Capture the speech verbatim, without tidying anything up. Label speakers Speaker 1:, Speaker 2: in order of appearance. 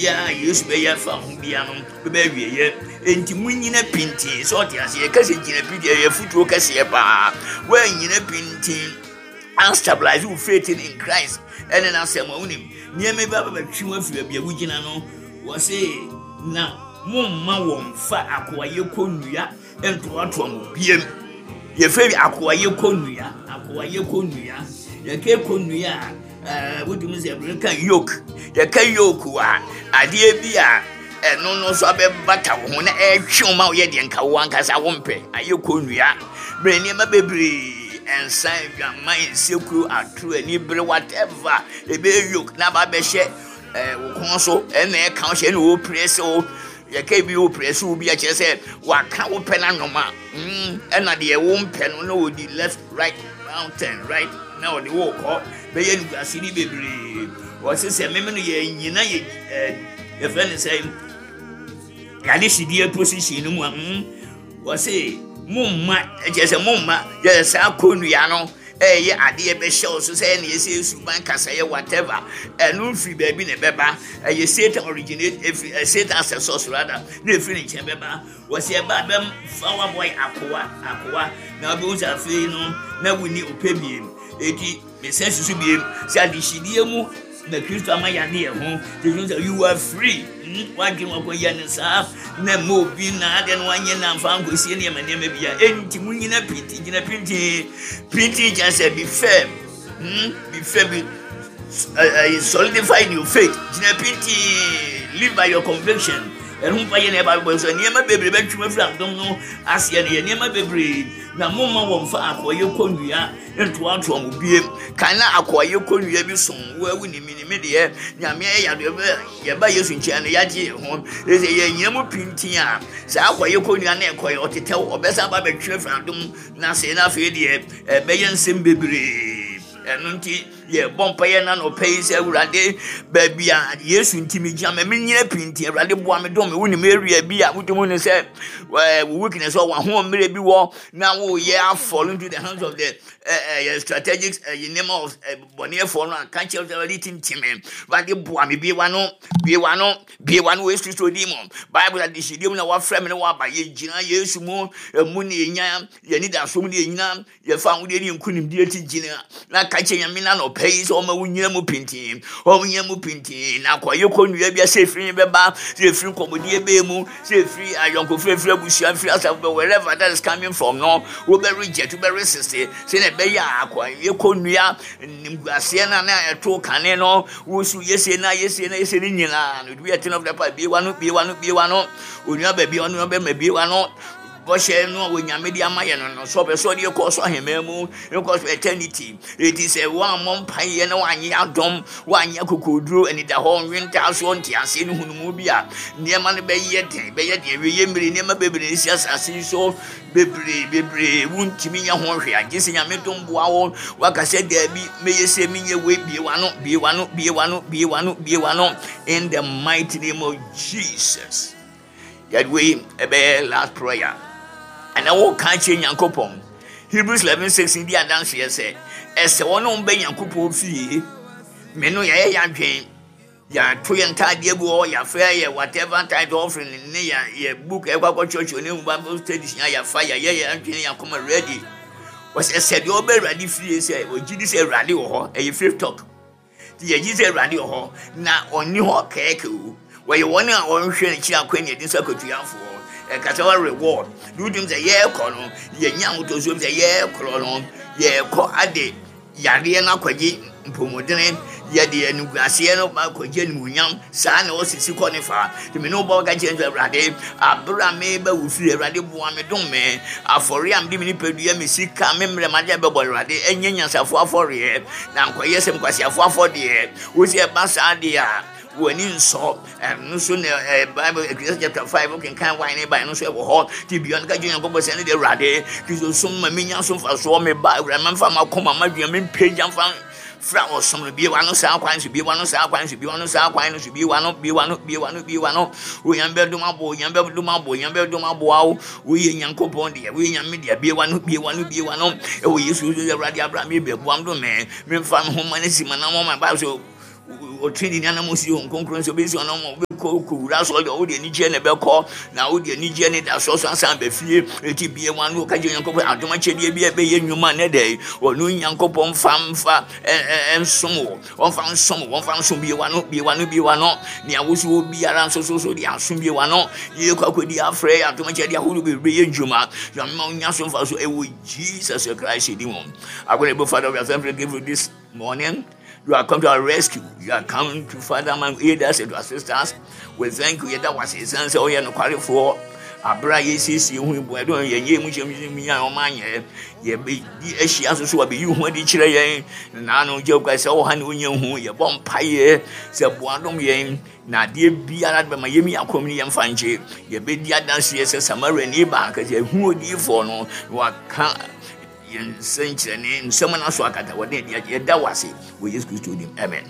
Speaker 1: Biribiara a Yesu bɛyɛ afa ho biara no bɛbɛ awieɛ. Enti munyina pintin sɛ ɔte aseɛ. Yɛka sɛ gyina pintin, ɛyɛ afotuo kɛseɛ paa. Woannyina pintin anstabilize wo faith in Christ ɛne n'asɛm a, wonim nneɛma bi abɛbɛtwe wo afiri baabi a wogyina no. Wɔse na momma wɔn fa akoayɛ kɔnnua ntoatoa mo biem. Yɛfrɛ bi akoayɛ kɔnnua, akoayɛ kɔnnua. Yɛka kɔnnua a, ɛɛ wotumi sɛ ɛbɛn ka yoke. Yɛka yoke a, adeɛ bi a ɛno no nso abɛbata wo ho na ɛretwe wo ma woyɛ deɛ nka wo ankasa wompɛ. Ayɛ kɔnnua. Bɛn nneɛma bebree, nsa, adwaman, nsekuro, atoro, anibere, whatever, ɛbɛyɛ yoke na aba abɛhyɛ ɛɛ wo kɔn so, ɛna ɛka wo hyɛ, ɛna wɔpere sɛ wo. Yɛka bi wɔpere sɛ wo bi akyerɛ sɛ waka wo pɛ n'anoma, mm ɛna deɛ wo mpɛ no na wɔdi left, right, round, turn right na ɔde wo kɔ bɛyɛ nuguase ne bebree. Wɔse sɛ meme no yɛ nyina yɛ ɛɛ yɛfrɛ no sɛ yɛade hyidie position no mu a, mm wɔse momma, ɛkyerɛ sɛ momma yɛ saa kɔnnua no ɛyɛ adeɛ bɛhyɛ wo so sɛ ɛna ɛsɛ suban kasɛyɛ whatever. Ɛno mfiri baabi na ɛbɛba. Ɛyɛ Satan originate, ɛfiri Satan asɛ source rather, na ɛfiri ne nkyɛn bɛba. Wɔsɛ ɛba bɛmfa waboa akoa akoa na wobɛhu sɛ afei no na wonni ɔpɛ biem. Eti mesɛ susu biem sɛ adehyidie mu na Kristo ama yɛade yɛn ho. Te sɛ you are free. Wadwene wakɔyɛ ne saa na mma obi na adeɛ no wanyɛ na mfa nkɔsie nneɛma nneɛma bi a. Enti mu nyina pintin, gyina pintin pintin, kyerɛ sɛ be firm, hmm? Be firm, be uh, solidify in your faith. Gyina pintin, live by your conviction. Ɛno mpa yɛ na ɛba bɛbɔ so nneɛma bebree bɛtwem afiri adom no aseɛ no yɛ nneɛma bebree. Na momma wɔmfa akɔyɛ kɔnnua ntoatoa mo biem. Kan na akɔyɛ kɔnnua bi som wo awu ne mi ne mi deɛ Nyame ayɛ yadeɛ bɛ yɛba Yesu nkyɛn no yɛagye yɛn ho. Ɛsɛ yɛnyina mu pintin a, saa akɔyɛ kɔnnua na ɛkɔyɛ ɔtetɛw ɔbɛsan ba bɛtwe afiri adom na ase, na afei deɛ ɛbɛyɛ nsɛm bebree. Ɛno nti yɛbɔ mpaeɛ na nɔpɛ yi sɛ Awurade, baabi a Yesu nti megyina ma menyina pintin, Awurade boa me, dom me. Wonim area bi a wotumi hu sɛ wo weakness wɔ w'ahoɔmmerɛ bi wɔ na woyɛ afall into the hands of the uh, strategic nneɛma of bɔneɛfoɔ no a, ka kyerɛ sɛ Awurade tintim me, Awurade boa me. Bie w'ano, bie w'ano, bie w'ano wɔ Yesu Kristo din mu. Bible adehyedie mu na wafrɛ me ne waba. Yɛgyina Yesu mu, ɛmu ne yɛnya yɛni daso mu ne yɛnyina yɛfa ahodeɛ ne nkonimdie ti. Gyina na ka kyerɛ Nyame na nɔpɛ yi sɛ ɔma wo nyina mu pintin, ɔma nyina mu pintin na akɔyɛ kɔnnua bi a, sɛ ɛfiri bɛba, sɛ ɛfiri nkɔmmɔdie bɛɛ mu, sɛ ɛfiri ayɔnkofo, ɛfiri abusua, ɛfiri asafo bɛ, wherever that is coming from no, wobɛ reject, wobɛ resist sɛ na ɛbɛyɛ a akɔyɛ kɔnnua nimguaseɛ no a na ɛto kane no wosu yɛsie na yɛsie na yɛsie no nyinaa no bi. Ɛtena of the pa bie wa no, bie wa no, bie wa no, onua baabi ɔno bɛma bie wa no. Bɔhyɛ no a Onyame de ama yɛ no no sɛ ɔpɛ sɛ ɔde kɔ so ahemman mu, nkɔ so eternity. Eti sɛ woammɔ mpaeɛ na woanyɛ adɔm, woanyɛ akokoduro, anida hɔ nwentaasoɔ, nteaseɛ ne hunumu bi a, nneɛma no bɛyɛ den, bɛyɛ den. Awie mmere nneɛma bebree si asase yi so bebree bebree, wontumi nyɛ ho hwee agye sɛ Nyame dom boa wo. Waka sɛ daabi, mɛyɛ sɛ menyɛ wei. Bie w'ano, bie w'ano, bie w'ano, bie w'ano, bie w'ano in the mighty name of Jesus. Yɛde wei ɛbɛyɛ last prayer ɛna wɔka kyerɛ Nyankopɔn. Hebrews eleven six di adanseɛ sɛ ɛsɛ wɔn a wɔbɛ Nyankopɔn fie me no yɛyɛ yɛadwen, yɛato yɛn ntaadeɛ gu hɔ, yɛafrɛ yɛ whatever tithe offering ne yɛ yɛ book ɛkɔ akɔkyerɛkyerɛ ne mu Bible studies nya yɛafa yɛyɛ yɛn adwene yɛn akoma ready. Wɔsɛ sɛ deɛ ɔbɛ Awurade fie sɛ ɔgye di sɛ Awurade wɔ hɔ. Ɛyɛ faith talk nti yɛgye sɛ Awurade wɔ hɔ na ɔnni hɔ kɛɛkɛ o. Wɔyɛ wɔn a wɔnhwɛ n'akyi akwan ne yɛde nso akatuafoɔ ɛkasa wɔ reward de wotum sɛ yɛrekɔ no yɛnya ahotɔsuom sɛ yɛrekorɔ no yɛrekɔ ade yareɛ no akɔgye mpɔmudene, yɛde animguaseɛ no akɔgye animuonyam. Saa na ɔsisi kɔ ne fa. Nti me ne wo bɔ ka kyerɛ sɛ Awurade, abere a meba wo fie, Awurade boa me, dom me. Afɔre a mede me nipadua, me sika, me mmerɛ made bɛbɔ Awurade, ɛnyɛ nyansafoɔ afɔreɛ na nkɔyɛ sɛ nkwasiafoɔ afɔdeɛ. Wo sɛ ɛba saa deɛ a w'ani nsɔ. Ɛno nso na ɛɛ Bible Ecclesiastes chapter five kenkan wine ne ban no nso ɛwɔ hɔ. Ti bia no ka gye Nyankopɔn sɛ ne de Awurade Kristo som ma menya so mfasoɔ. Me ba Awurade, ma mfa makoma madwene me mpagya mfa fra ɔsom no. Bie w'ano saa kwan so, bie w'ano saa kwan so, bie w'ano saa kwan no so, bie w'ano, bie w'ano, bie w'ano, bie w'ano. Onyame bɛdom abo, Onyame bɛdom abo, Onyame bɛdom aboa wo. Woyɛ Nyankopɔn deɛ, woyɛ Nyame deɛ. Bie w'ano, bie w'ano, bie w'ano ɛwɔ Yesu Kristo. Awurade, abra me bɛboam do me memfa me ho ma no si ma na mɔ ma Bible so. Ɔtwe ne anam si wɔn kronkron sɛ obesi wɔn anam ɔbɛkɔ kɔwura asɔre deɛ ɔde anigyeɛ na ɛbɛkɔ na wode anigyeɛ ne da so so asan ba fie. Eti bie wɔn ano ka kyerɛ Nyankopɔn adom akyɛdeɛ bi a ɛbɛyɛ nnwuma ne dɛ ɔno Nyankopɔn mfa mfa nsom wɔ ɔmfa nsom wɔ ɔmfa nsom. Bie wɔn ano, bie wɔn ano, bie wɔn ano. Nea wosi wɔ biara nso so so de asom, bie wɔn ano. Yɛ kɔ akɔdi afrɛ adom akyɛdeɛ ahodoɔ bebree yɛ nnwuma Nyame ma wonya so mfa so ɛwɔ Jesus Christ din mu. Agorɔ Father, we are thankful give you this morning. You are come to our rescue. You are come to, Father, man, aid us and to assist us. We thank you. Yɛda wase ɛsiane sɛ ɔyɛ nokwarefoɔ. Abere a yɛsiesie ho ibu ɛdɔn yɛn yɛ mu hyɛm mu nya ɔma anyɛ yɛbɛdi ahyia so so abɛyi ho adi kyerɛ yɛn naano gye kwa sɛ ɔha ne ɔnya hu. Yɛbɔ mpaeɛ sɛ boadom yɛn na adeɛ biara de bɛma yɛmi akɔm ne yɛmfa nkye. Yɛbɛdi adanseɛ sɛ Samariani baaka sɛ ɛhu odiyifoɔ no na waka yɛn nsɛnkyerɛnne nsɛm no so akata wɔde adi. Yɛda wo ase wɔ Yesu Kristo dim, amen.